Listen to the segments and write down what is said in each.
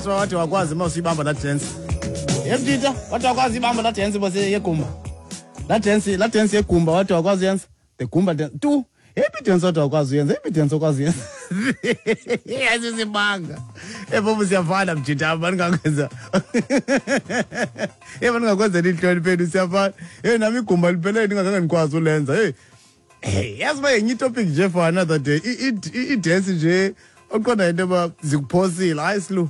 Wathi wakwazi uma usuyibamba laa dance. Yemtita, wathi wakwazi ibamba laa dance bose yegumba. Laa dance, laa dance yegumba wathi wakwazi uyenza. The gumba dance. Tu, yeyiphi dance wathi wakwazi uyenza? Yeyiphi dance okwazi uyenza? Ayisisibanga. Ebobu siyafana mjita, mandingakwenza. Hey, mandingakwenzela intloni phela siyafana. Hey, nami igumba liphele ndingazange ndikwazi ulenza. Hey. Hey, yazi uba yenye itopic nje for another day. I-dance nje oqonda into yoba zikuphosile. Hayi silu.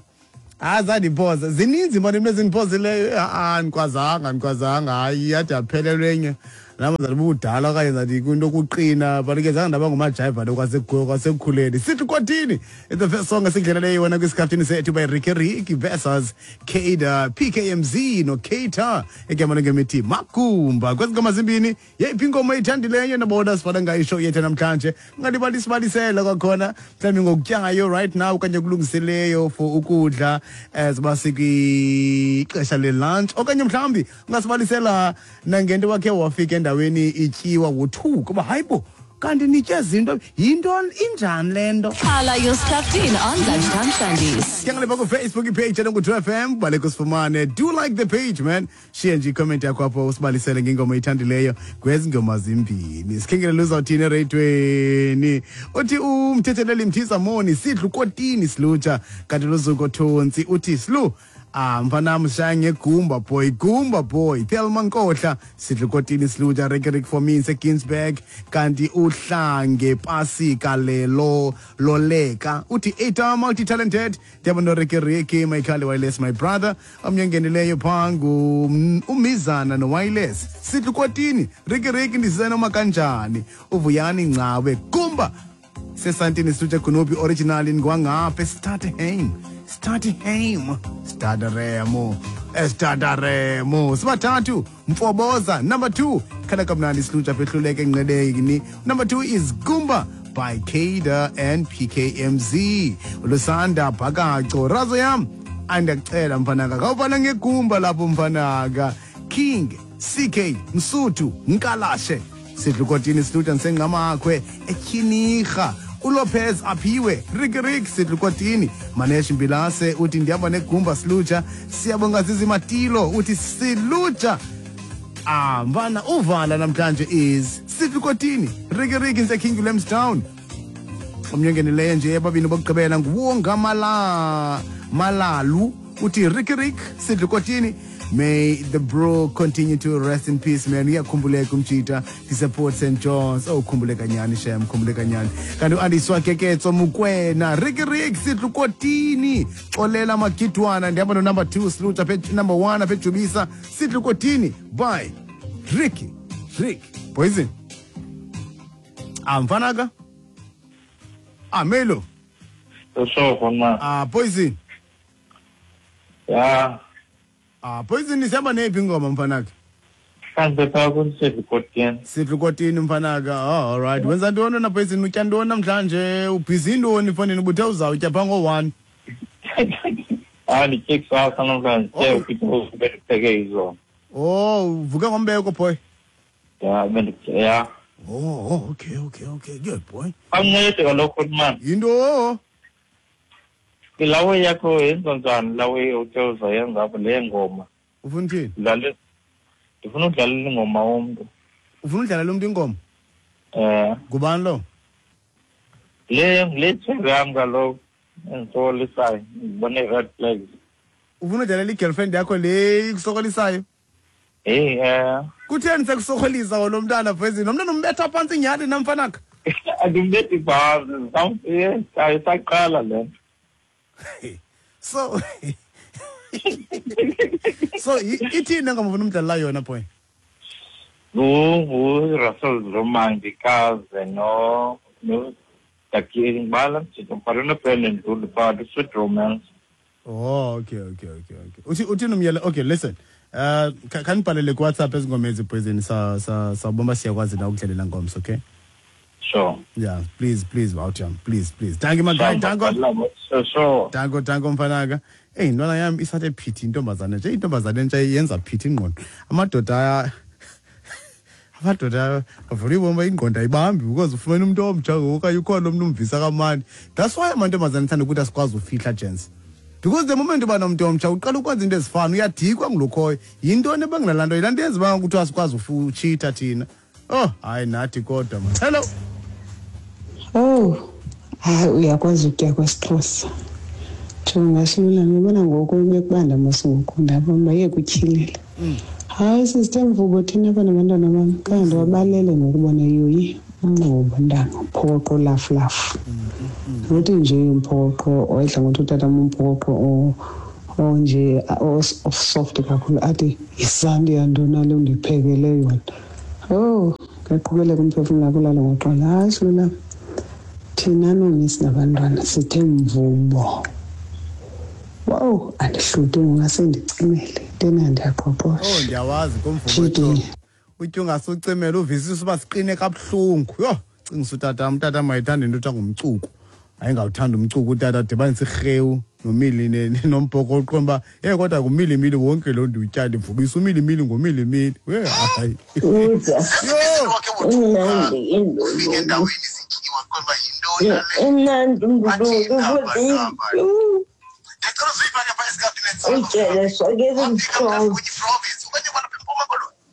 Hayi zandiphosa. Zininzi mani into ezindiphosileyo. Ha-a andikwazanga, andikwazanga. Hayi yade yaphelelwa enye. Nam zathi bubudala okanye zathi kwinto yokuqina, but ke zange ndaba ngumajayiva lo kwasekukhuleni. Sithi kwathini? It's the first song esindleleleyo wena kwisikhaftini sethu by Ricky Ricky versus Kada PKMZ no Kata igama lengemithi Makumba. Kwezi ngoma zimbini yeyiphi ingoma oyithandileyo nabona sifana ngayo ishow yethu namhlanje? Ungalibali sibalisela kwakhona mhlawumbi ngokutyayo right now okanye kulungiseleyo for ukudla as uba sikwixesha le-lunch, okanye mhlawumbi ungasibalisela nangento wakhe wafika endaweni ityiwa wothuka uba hayi bo, kanti nitye zinto, yintoni, injani le nto? Khala your Skhaftin on Lunchtime Shandies. Siyangalipha kufacebook ipage enongu-2 FM, baleka usifumane. Do like the page, man. Shiye nje icomment yakho apho usibalisele ngengoma oyithandileyo kwezi ngoma zimbini. Sikhengelele uzawuthini ereyidweni. Uthi umthetheleli Mthisa Moni, sidlu kotini silutsha. Kanti luzuko Thontsi uthi silu, ah mfanam sishaya ngegumba boy, gumba boy. Thelma Nkohla, sidlu kotini silutsha, Rick Rick for me nseGinsberg. Kanti uhlange pasika lelo loleka. Uthi eta multi talented. Ndiyabona Ricky Ricky, Michael Wireless, my brother. Omnye ongenileyo phaa ngu umizana no-Wireless. Sidlu kotini, Ricky Ricky ndisize noma kanjani. Uvuyani Ngcawe, Gumba. Sesantini silutsha Kunupi original ngwangapha Startheim. Startheim. Starteremo. Starteremo. Sibathathu Mfoboza number 2. Khala kamnandi silutsha phehluleke enqedeni. Number 2 is Gumba by Kada and PKMZ. Lusanda Bhakaco Razo yam. Andiyakucela mfanaka. Khawufana ngegumba lapho mfanaka. King CK Msuthu Nkalashe. Sidlukotini silutsha ngisengqamakhwe etyhinirha. uLopez aphiwe Ricky Rick sidlukotini. Manesh Mbilase uthi ndihamba negumba silutsha. Siyabonga Zizi Matilo uthi silutsha. Ah mfana uvala namhlanje is sidlukotini Ricky Rick nse King William's Town. Omnye ongenileyo nje ababini bokugqibela nguwonga Malalu uthi Ricky Rick sidlukotini. May the bro continue to rest in peace, man. Uyakhumbuleka umjita ndiseport St John's. Oh, khumbuleka nyani shem, khumbuleka nyani. Kanti uAndiswa Keketso Mukwena, Ricky Rick sidlukotini. Xolela Magidwana ndihamba no number 2 silutsha apha number 1 apha eJubisa sidlukotini by Ricky Rick Poison. Ah mfanaka. Ah Melo. Usho man. Ah Poison. Ya. Ah Poison isihamba neyiphi ingoma mfanaka? Mhlambe phaa kusidlukotini. Sidlukotini mfanaka. Oh, all right. Wenza ntoni wena Poison? Utya ntoni namhlanje? Ubhizi ntoni mfondini? Ubuthe uzawutya phaa ngo-1. Ah nditye kusasa namhlanje. Oh. Ke ukuthi bendipheke izolo. Oh, uvuke ngombeko boy. Ya benditye ya. Oh, okay. Good boy. Awuncede kaloku man. Yinto Ilawe yakho yenza njani lawe uthe uzayenza apho le ngoma? Ufuna uthini? Dlale. Ndifuna udlalela ingoma womntu. Ufuna udlalela umntu ingoma? Ngubani lo? Le tshebi yam kaloku endisokolisayo, ndibone red flags. Ufuna udlalela i-girlfriend yakho le ikusokolisayo? Hey, Kutheni sekusokolisa wona umntana Poison? Lo mntana umbetha phantsi nyhani namfanaka? Andimbethi phantsi, isaqala le nto. So ithini engoma ufuna umdlalela yona boy? NguRussell Zuma ndikaze no Dakiri ngibala mjito mbhalo noBrandon Ndulu but Sweet Romance. Oh, okay. Uthini umyela? Okay, listen. Khanibhalele kuWhatsApp ezingoma ezi Poison sawubona siyakwazi na ukudlalela ngomso, okay? Sure. Yeah, please, Wawuthi please. Thank you, my guy. Thank you. Sure. Thank you, mfanaka. Hey, intwana yam isathe phithi intombazane nje, intombazane nje yenza phithi ingqondo. Amadoda avula ibomba ingqondo ayibambi because ufumene umuntu omtsha ngoku okanye ukhona umntu umvisa kamandi. That's why amantombazane athanda ukuthi asikwazi ufihla, gents. Because the moment uba nomntu omtsha uqala ukwenza into ezifana, uyadikwa ngulokhoyo. Yintoni ebangela laa nto? Yilaa nto yenza uba kuthiwa sikwazi utshitha thina. Oh, hayi nathi kodwa man. Hello. Oh, hayi uyakwazi ukutya kwesiXhosa. Jonga Silulane, ubona ngoku bekubanda mos ngoku, ndabona uba iye kutyhilela. Hayi sisithe mvubo thina apha nabantwana bam, kanti wabalele ngokubona yoyi umnqubo ntanga, umphokoqo lafulafu. Nothi nje umphokoqo oyidla ngothi utata umphokoqo onje soft kakhulu, athi yisanti yantoni le undiphekele yona. Oh, kuyaqhubeleka umphefumlo wakho ulale ngoxolo. Hayi Silulane, thina noomisi nabantwana sithe mvubo. Wow, andihluthi ngoba sendicimele, tena ndiyaqoqosha. Oh, ndiyawazi kumvubo. Uthi ungasucimela uvisisa uba siqine kabuhlungu. Yho, cingisa utatam, utatam wayethanda into ethiwa ngumcuku. Ayengawuthanda umcuku utata, dibanisa irhewu nomili nombhokoqo uba hey kodwa ngumilimili wonke lo ndiwutya, ndivubisa umilimili ngomilimili. We hayi. Imnandi indulu. Imnandi indulu futhi. Utyele sonke isimhlophe.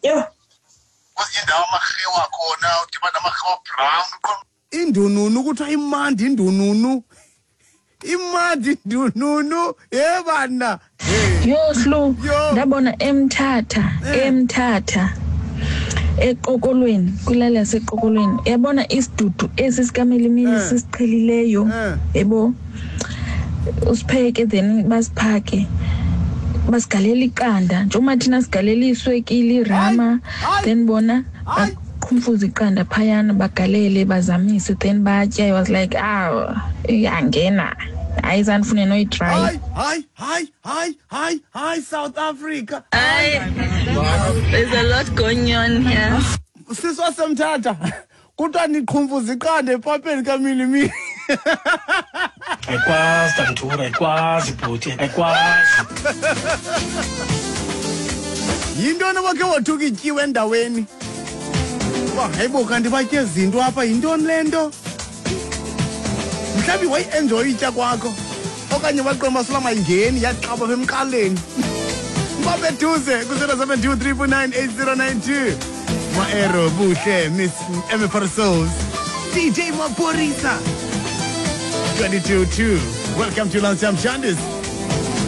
Yho. Indununu kuthiwa imandi indununu. Imandi indununu. Ye bana. Yho Slu, ndabona eMthatha, eMthatha. Eqokolweni, kwilali yaseqokolweni. Yabona isidudu esi sikamilimili sisiqhelileyo. Yebo. Usipheke then basiphake. Basigalela iqanda. Njengoba thina sigalela iswekile, irama, then bona baqhumfuza iqanda phayana bagalele bazamise then batya. I was like, ah, iyangena. Hayi zanifune noyitry. Hayi, hayi, hayi, hayi, hayi, hayi South Africa. Hayi. There's a lot going on here. Sisi wasemthatha. Kuthiwa niqhumfuza iqanda epapeni kamilimili. Ayikwazi Tantura, ayikwazi bhuti, ayikwazi. Yintoni wakhe wothuka ityiwe endaweni? Uba hayibo kanti batye izinto apha, yintoni le nto? Mhlawumbi wayi-enjoy itya kwakho okanye waqonda uba mayingeni yaxaba apha emqaleni. Babeduze ku-072 349 8092. Maero Buhle, Miss Emmy Souls, DJ Maphorisa. 22-2. Welcome to Lunchtime Shandis.